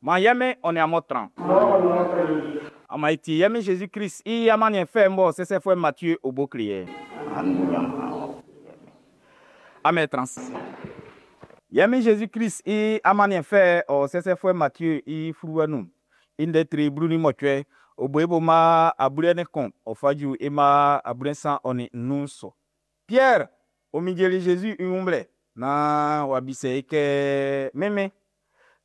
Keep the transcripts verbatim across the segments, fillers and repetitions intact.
Maan yɛ Min ɔ nin amun tran. Amun e tie yɛ Min Jésus Christ i amanniɛn fɛ'n bɔ sɛsɛfuɛ Matthieu o bo kle yɛ. Amun e tran ase. Yɛ Min Jésus Christ i amanniɛn fɛ'n ɔ sɛsɛfuɛ Matthieu i fluwa nun. I ndɛ tre blu nin mɔcuɛ, ɔ bo i bo mma ablaɔn nin kun, ɔ fa ju i mma ablasan ɔ nin nnun su. Pierre ɔ minjeli Jésus i wun blɛ naan w'a bisɛ i kɛ, Min Min,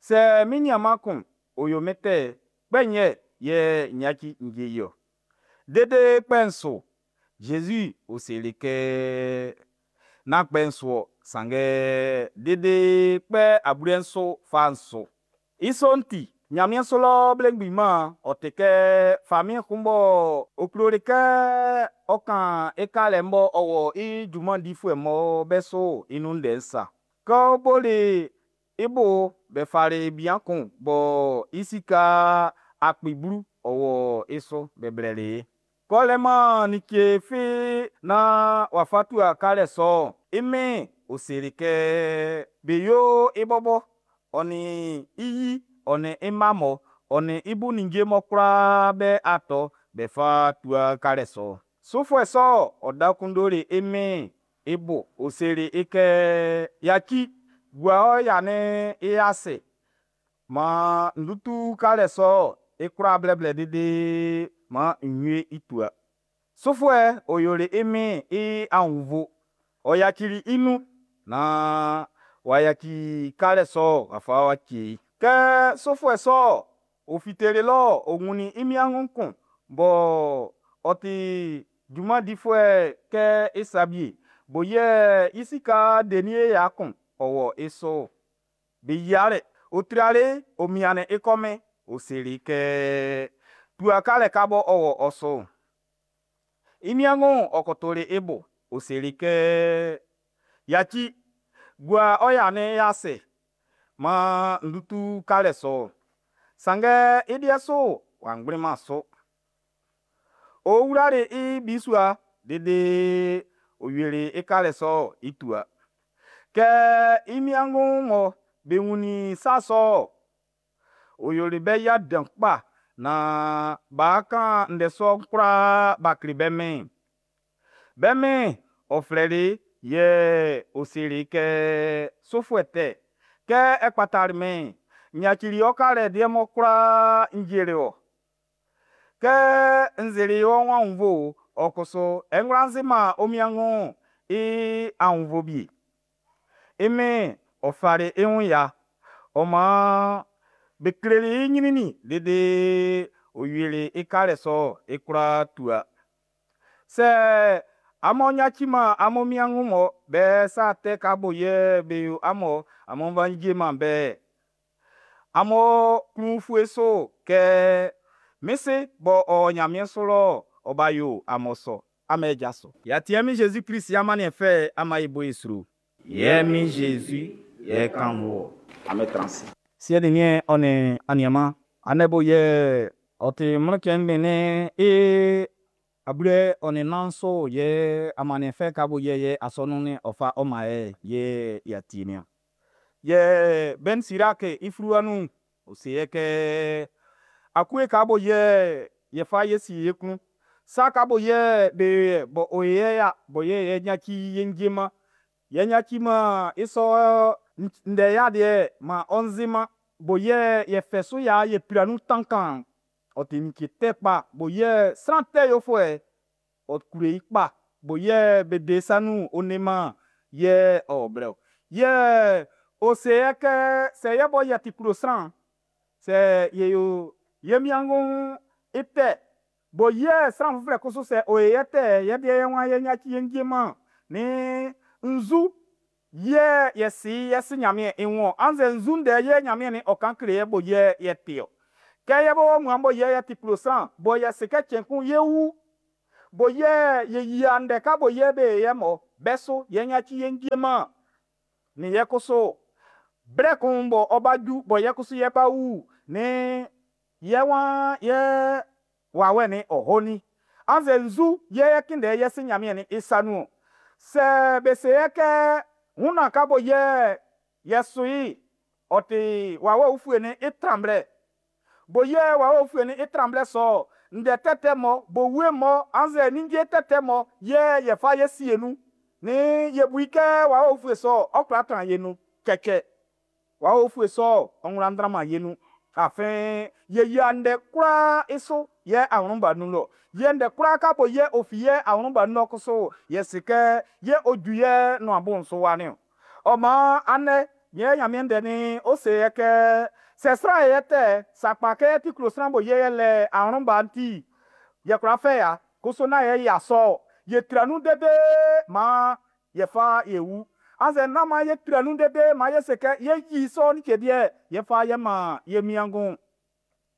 sɛ min niaanman kun ɔ yo min tɛ'n, kpɛ nnyɛ yɛ n yaci n cɛ i-ɔ? Dede kpɛ nso? Jésus ɔ seli kɛ, nán kpɛ nso-ɔ, sanngɛ dede kpɛ ablasan fa nso. I sɔ'n ti, Nyanmiɛn su lɔ belemgbin mɛn'n ɔ ti kɛ famiɛn kun b'ɔ ɔ kloli kɛ ɔ ʼkan i kalɛ'n b'ɔ wɔ i junman difuɛ'm be su'n i nun ndɛ'n sa. Kɛ ɔ boli i bo'n, be fali bian kun bɔ i sika akpi blu ɔ wɔ i su be blɛli i. Kɛ ɔ lɛ-man like fi nan ɔ'a fa tua kalɛ sɔ'n, i min'n ɔ seli kɛ be yo i bɔbɔ, ɔ nin i yi, ɔ nin i mma mun, ɔ nin i bo ninnge'm be kwlaa be atɛ be fa tua kalɛ sɔ'n. Sufuɛ sɔ'n ɔ da kondoli i min'n i bo, ɔ seli i kɛ, ʼYaci, gua ɔ ya'n i ase maan n tutu kalɛ sɔ'n i kwlaa blɛblɛ dede maan n wie i tua. Sufuɛ'n ɔ yoli i min'n i annvɔ, ɔ yacili i nun naan w'a yaci kalɛ sɔ'n w'a fa w'a cɛ i. Kɛ sufuɛ sɔ'n ɔ fiteli lɔ'n, ɔ wunnin i niaan kun bɔ ɔ ti junman difuɛ kɛ i sa wie, bɔ yɛ i sika denie ya kun ɔ wɔ i su'n. Be yiali, ɔ trali i, ɔ miannin i kɔmin, ɔ seli i kɛ, ʼTua kalɛ ka bɔ ɔ wɔ ɔ su'n. I niaan'n ɔ kotoli i bo, ɔ seli i kɛ, ʼYaci, gua ɔ ya'n i ase maan n tutu kalɛ sɔ'n. Sanngɛ i liɛ su w'a kplinman su. Ɔ wlali i bisua dede ɔ wieli i kalɛ sɔ'n i tua. Kɛ i niaan'm be wunnin sa sɔ'n, ɔ yoli be ya dan kpa naan b'a kan ndɛ sɔ'n kwlaa b'a kle be min'n. Be min'n ɔ flɛli i, yɛ ɔ seli i kɛ, ʼSufuɛ tɛ, kɛ ɛ kpatali min'n, n yacili ɔ kalɛ liɛ'n kwlaa n cɛli wɔ. Kɛ n sili wɔ aunnvuɛ'n, ɔ kusu e kwlá siman ɔ wiengu'n i aunnvuɛ wie. I min'n ɔ fali i wun ya, ɔ maan be kleli i ɲrɛnnɛn dede ɔ wieli i kalɛ sɔ'n i kwlaa tua. Sɛ amun yaciman amun wiengu'm be sa tɛ ka bɔ yɛ be yo amun'n, amun fa cɛman be'n, amun klun ufue su kɛ min Si b'ɔ o ɲanmiɛn su lɔ'n, ɔ ba yo amun sɔ. Amun jaso. Y'a tie Min Jésus Christ i amanniɛn fɛ'n, an e bo i sro. Yɛ Min Jésus, yɛ kannvun wɔ. Amun tran ase. Siɛ nin niɛn ɔ nin aniaanmun, andɛ bɔ yɛ ɔ ti Mlɔnnuɛn cɛn ngbɛn'n i ablaɔn ɔ nin nnan su yɛ amanniɛn fɛ ka bɔ yɛ ye asɔnun'n ɔ fa ɔ man ye'n yɛ y'a tie niɔn. Yɛ Ben Siraki i fluwa nun'n, ɔ se yɛ kɛ akue ka bɔ yɛ ye fa ye sie ye klun, sa ka bɔ yɛ be yo ye b'ɔ yo ye ya bɔ yɛ ye yaci ye cɛman, ye yaciman i sɔ ndɛ ya liɛ'n man ɔ nzinman, bɔ yɛ ye fɛ su ya ye pla nun tankaan'n, ɔ ti like tɛ kpa bɔ yɛ sran tɛ yofuɛ'n ɔ klo i kpa bɔ yɛ be de i sa nun'n ɔ leman yɛ ɔ blɛ-ɔ. Yɛ ɔ se yɛ kɛ sɛ yɛ bɔ yɛ ti klɔ sran'n, sɛ ye yo ye wiengu'n i tɛ bɔ yɛ sran uflɛ kusu sɛ ɔ yo ye tɛ'n, yɛ deɛ ye waan yɛ yaci yɛ cɛman'n, nn nzu yɛ yɛ si i yɛ si Ɲanmiɛn i wun ɔn, annzɛ nzu ndɛ yɛ Ɲanmiɛn ɔ kan kle ye bɔ yɛ yɛ ti ɔ. Kɛ yɛ bɔ muan bɔ yɛ yɛ ti klɔ sran bɔ yɛ si kɛ cɛn kun ye wu, bɔ yɛ ye yia ndɛ ka bɔ yɛ be yo ye mɔ be su yɛ yaci yɛ cɛman, nn yɛ kusu blɛ kun bɔ ɔ́ bá jú bɔ yɛ kusu yɛ bá wu, nn yɛ waan yɛ wawɛ'n ɔ o nin? Annzɛ nzu yɛ yɛ kunndɛ yɛ si Ɲanmiɛn i sa nun ɔn? Sɛ be se yɛ kɛ wunnɛn ka bɔ yɛ yɛ su i'n, ɔ ti wawɛ ufuɛ'n i tranwlɛ, Bo yɛ wawɛ ufue'n i tran blɛ sɔ ndɛ tɛtɛ mɔ, bo wie mɔ, annzɛ ninnge tɛtɛ mɔ yɛ yɛ fa ye sie nun. Ni ye bu i kɛ wawɛ ufue sɔ ɔ kwla tran ye nun. Cɛcɛ. Wawɛ ufue sɔ ɔ wlan tranman ye nun. Afin ye yia ndɛ kwlaa i su yɛ awlɛnba nun lɔ. Yɛ ndɛ kwlaa ka bo yɛ ɔ fi yɛ awlɛnba nun lɔ kusu yɛ se kɛ yɛ ɔ ju yɛ nuan bo'n su wa niɔn. Ɔ maan andɛ yɛ Ɲanmiɛn ndɛ'n ɔ se yɛ kɛ sɛ sran yɛ tɛ sakpa kɛ yɛ ti klo sran bo yɛ yɛ lɛ awlɛnba'n ti yɛ kwla fɛ ya kusu nán yɛ ya sɔ yɛ tra nun dede maan yɛ fa yɛ wu. Annzɛ nán maan yɛ tra nun dede maan yɛ se kɛ yɛ yi sɔ like deɛ yɛ fa yɛ man yɛ miangun.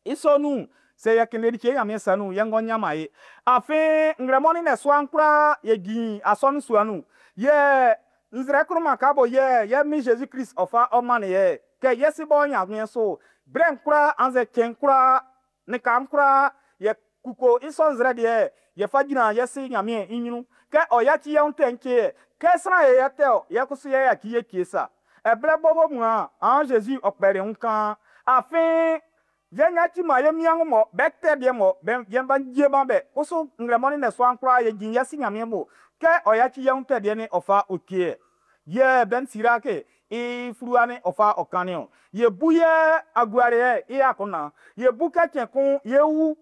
I sɔ nun sɛ yɛ kele like Ɲanmiɛn sa nun yɛ ngɔ ɲanman ye. Afin nglɛmɔ ni nnɛsua'n kwlaa yɛ jin asɔnun sua nun. Yɛ nzrɛ kunman ka bo yɛ yɛ min Zezi Klist ɔ fa ɔ man yɛ kɛ yɛ si bɔ Ɲanmiɛn so blɛ'n kwlaa annzɛ cɛn kwlaa lika'n kwlaa yɛ kuko i sɔ nzrɛ deɛ yɛ fa gyina yɛ si Ɲanmiɛn i ɲrun kɛ ɔ yaci yɛ wun tɛ'n cɛ yɛ kɛ sran yɛ yɛ tɛ ɔ yɛ kusu yɛ yaci yɛ cɛ sa ɛblɛ bɔbɔ mun a an Zezi ɔ kpɛli wun kan afin yɛ yaci ma yɛ miangun mɔ bɛ tɛ deɛ mɔ bɛ yɛ ba gye ma bɛ kusu nglɛmɔ ni nnɛsua'n kwlaa yɛ jin yɛ si Ɲanmiɛn bo kɛ ɔ yaci yɛ wun tɛ deɛ ni ɔ fa o cɛ yɛ yɛ Ben Siraki i fluwa ni ɔ fa ɔ kannin ɔn. Yɛ bu yɛ aguare i akunndan. Yɛ bu kɛ cɛn kun yɛ wu.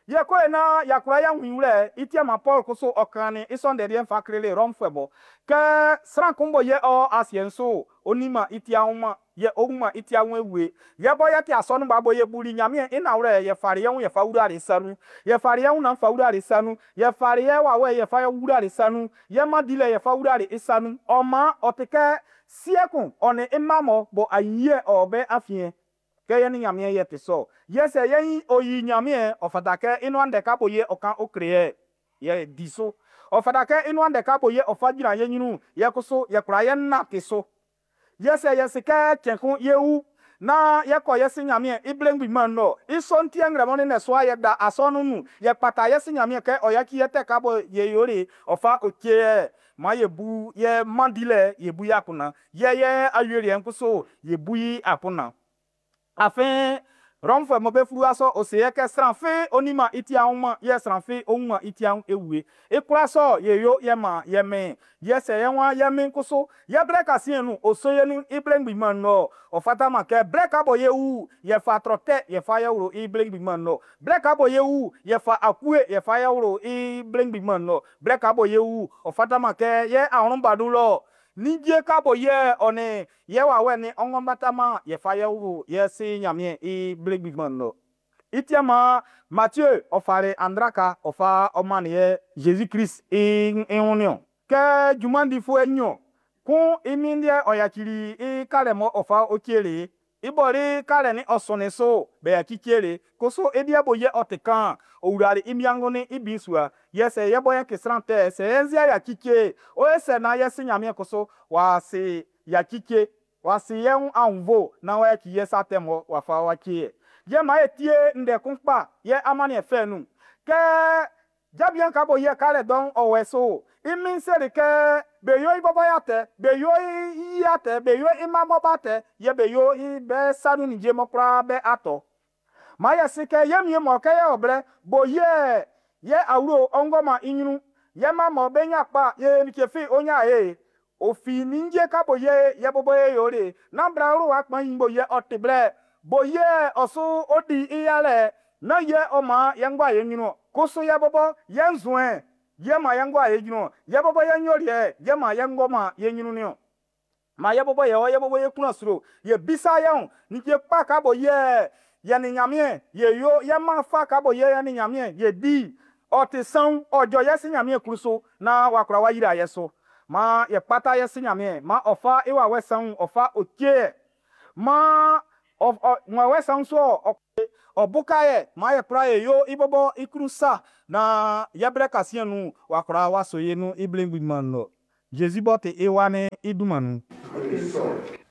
Yɛ ko na ya kwla ya wun i wlɛ i ti ma Paul kusu ɔ kannin i sɔ ndɛ liɛ'n fa kleli Rɔmfuɛ bɔ kɛ sran kun bɔ yɛ ɔ asiɛ'n su ɔ nin-man i ti anwman yɛ ɔ wun-man i ti anwun wie. Yɛ bɔ yɛ ti asɔnun ba bɔ yɛ buli Ɲanmiɛn i nanwlɛ yɛ fali yɛ wun yɛ fa wlali sa nun. Yɛ fali yɛ wun nan fa wlali sa nun. Yɛ fali yɛ wawɛ yɛ fa wlali sa nun. Yɛ man dilɛ yɛ fa wlali i sa nun. Ɔ maan ɔ ti kɛ siɛ kun ɔ nin i mma mɔ bɔ ayiyɛ ɔ bɛ afiɛn. Kɛ yɛ ni Ɲanmiɛn yɛ ti sɔ. Yɛ sɛ yɛ ɔ yi Ɲanmiɛn ɔ fata kɛ i nuan ndɛ ka bo yɛ ɔ kan ɔ kle yɛ yɛ di so. Ɔ fata kɛ i nuan ndɛ ka bo yɛ ɔ fa gyina yɛ ɲrun yɛ kusu yɛ kwla yɛ nante so. Yɛ sɛ yɛ se kɛ cɛn kun yɛ wu naan yɛ kɔ yɛ si Ɲanmiɛn i ble ngbinman lɔ. I sɔ'n ti nglɛmɔ ni nnɛsua yɛ da asɔnun nun yɛ kpata yɛ si Ɲanmiɛn kɛ ɔ yaci yɛ tɛ ka bo yɛ yoli ɔ fa o cɛ yɛ maan yɛ bu yɛ man dilɛ yɛ bu i akunndan. Yɛ yɛ awieliɛ'n kusu yɛ bu i akunndan. Afin Rɔmfuɛ mɔ be fluwa sɔ ɔ se yɛ kɛ sran fi ɔ nin-man i ti anwman yɛ sran fi ɔ wun-man i ti anwun ewie. I kwlaa sɔ yɛ yo yɛ man yɛ mɛn yɛ sɛ yɛ wan yɛ mɛn kusu yɛ blɛ kasiɛn nun ɔ so yɛ nun i ble ngbinman lɔ ɔ fataman kɛ blɛ ka bɔ yɛ wu yɛ fa trɔ tɛ yɛ fa yɛ wlo i ble ngbinman lɔ. Blɛ ka bɔ yɛ wu yɛ fa akue yɛ fa yɛ wlo i ble ngbinman lɔ. Blɛ ka bɔ yɛ wu ɔ fataman kɛ yɛ awlɛnba nun lɔ ninnge ka bɔ yɛ ɔ nin yɛ wawɛ ni ɔngɔ bataman yɛ fa yɛ wlo yɛ si Ɲanmiɛn i ble ngbinman lɔ. I ti ma Mathieu ɔ fali andraka ɔ fa ɔ mannin yɛ Zezi Klist i i wun niɔn. Kɛ junman difuɛ nɲɔn kun i min liɛ ɔ yacili i kalɛ mɔ ɔ fa ɔ cɛli i bɔli kalɛ ni ɔ sɔnnin so bɛ yaci cɛli kusu i deɛ bo yɛ ɔ ti kan ɔ wlali i miangun ni i bisua. Yɛ sɛ yɛ bɔ yɛ ti sran tɛ sɛ yɛ nzia yaci cɛ o yɛ sɛ naan yɛ si Ɲanmiɛn kusu w'a si yaci cɛ w'a si yɛ wun aunnvo naan w'a yaci yɛ sa tɛ mɔ w'a fa w'a cɛ yɛ. Yɛ maan e tie ndɛ kun kpa yɛ amanniɛn fɛ nun. Kɛ jabian ka bo yɛ kalɛ dɔn ɔ wɛ so i min seli kɛ be yo i bɔbɔ ya tɛ be yo i ya tɛ be yo i mma bɔ tɛ yɛ be yo i bɛ sa nun ninnge mɔ kwlaa bɛ atɔ. Maan yɛ si kɛ yɛ mie mɔ kɛ yɛ ɔ blɛ bo yɛ yɛ awlo ɔngɔman i ɲrun yɛ mma mɔ be nya kpa yɛ like fi o nya ye ofi ninnge ka bo yɛ yɛ bɔbɔ ye yoli nán bla wlo wa kpan yi bo yɛ ɔ ti blɛ bo yɛ ɔ su ɔ di i yalɛ nán yɛ ɔ man yɛ ngua yɛ ɲrun kusu yɛ bɔbɔ yɛ nzuɛn yɛ man yɛ ngua yɛ ɲrun yɛ bɔbɔ yɛ nyoliɛ yɛ man yɛ ngɔ yɛ ɲrun niɔn. Ma yɛ bɔbɔ yɛ ɔ yɛ bɔbɔ yɛ kunna sro yɛ bisa yɛ wun ninnge kpa ka bo yɛ yɛ ni Ɲanmiɛn yɛ yo yɛ man fa ka bo yɛ yɛ ni Ɲanmiɛn yɛ di ɔ ti sanwun ɔ jɔ yɛ si Ɲanmiɛn klun so naan w'a kwla wa yira yɛ so. Maan yɛ kpata yɛ si Ɲanmiɛn maan ɔ fa i wawɛ sanwun ɔ fa o cɛ yɛ maan ɔ ɔ wawɛ sanwun so ɔ ɔ buka yɛ maan yɛ kwla yɛ yo i bɔbɔ i klun sa naan yɛ blɛ kasiɛn nun w'a kwla wa so ye nun i ble ngbinman lɔ. Zezi b'ɔ ti i wa'n i dunman nun. Ɔ ti sɔ.